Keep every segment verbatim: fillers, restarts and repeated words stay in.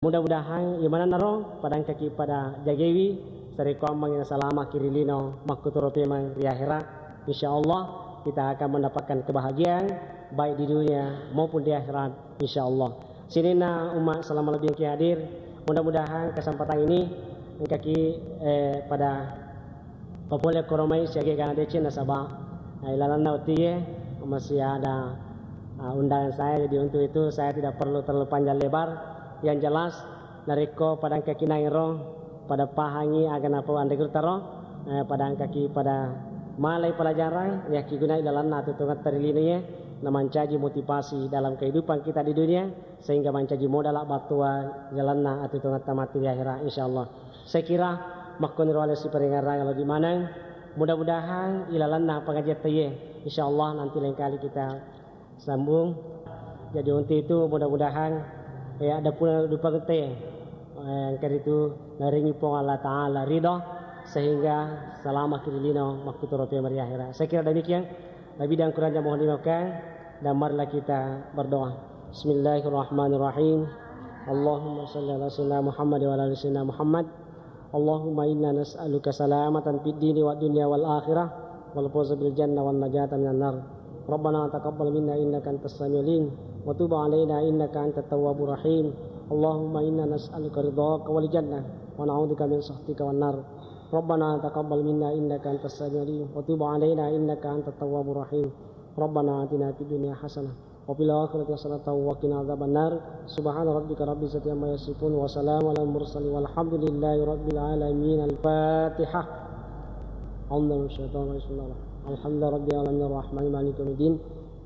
Mudah-mudahan imananna ro padangkaki pada jagewi, sarekkoammengngi nasalamaki ri lino makkutoro pemeng ri akhera. Insya Allah kita akan mendapatkan kebahagiaan baik di dunia maupun di akhirat, insya Allah. Sininna umat selama lebih hadir, mudah-mudahan kesempatan ini engkaki, eh, pada papole koromai siaga gana deceng nasaba, eh, ilalanna utie masih ada, ah, undangan saya, jadi untuk itu saya tidak perlu terlalu panjang lebar. Yang jelas, narekko pada engkaki nairo pada pahangi aga napau anre gurutta ro, eh, pada engkaki pada malai pelajaran, yakkigunai ilalanna atuo-tuongetta ri lino ye, namancaji motivasi dalam kehidupan kita di dunia, sehingga mancaji modala battua ilalanna atuo-tuongetta matti ri akhera, insya Allah. Saya kira makkoniro ale siparengerang lebih maneng. Mudah-mudahan ilalanna pengajian teye, insya Allah nanti lain kali kita sambung. Jadi untuk itu mudah-mudahan, eh, ada pula dupa gete, eh, engka itu naringi Puang Allah Ta'ala ridho sehingga selama kirilino makkutoro pemeng ri akhera. Saya kira demikian. Lebih dan kurangnya mohon dimaafkan dan marilah kita berdoa. Bismillahirrahmanirrahim. Allahumma salli ala sayyidina Muhammad wa ala ali sayyidina Muhammad. اللهم إنا نسألك سلامة في الدين والدنيا والآخرة والفوز بالجنة والنجاة من النار. ربنا تقبل منا إنك أنت السميع العليم وتب علينا إنك أنت التواب الرحيم. اللهم إنا نسألك رضاك والجنة ونعوذ بك من سخطك والنار. ربنا تقبل منا إنك أنت السميع العليم وتب علينا إنك أنت التواب الرحيم. ربنا آتنا في الدنيا حسنة وفي الآخرة حسنة وقنا عذاب النار. سبحان ربك رب العزة عما يصفون وسلام على المرسلين والحمد لله رب العالمين. الفاتحة. أعوذ بالله من الشيطان الرجيم. بسم الله الرحمن الرحيم. الحمد لله رب العالمين الرحمن الرحيم مالك يوم الدين.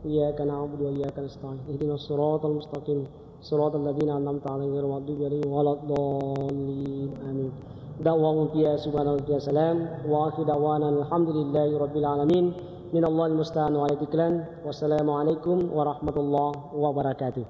إياك نعبد وإياك نستعين. اهدنا الصراط المستقيم. صراط الذين أنعمت عليهم غير المغضوب عليهم ولا الضالين. آمين. دعواهم فيها سبحان ربك السلام. وآخر دعوانا الحمد لله رب العالمين. من الله المستعان وعليه التكلان. والسلام عليكم ورحمة الله وبركاته.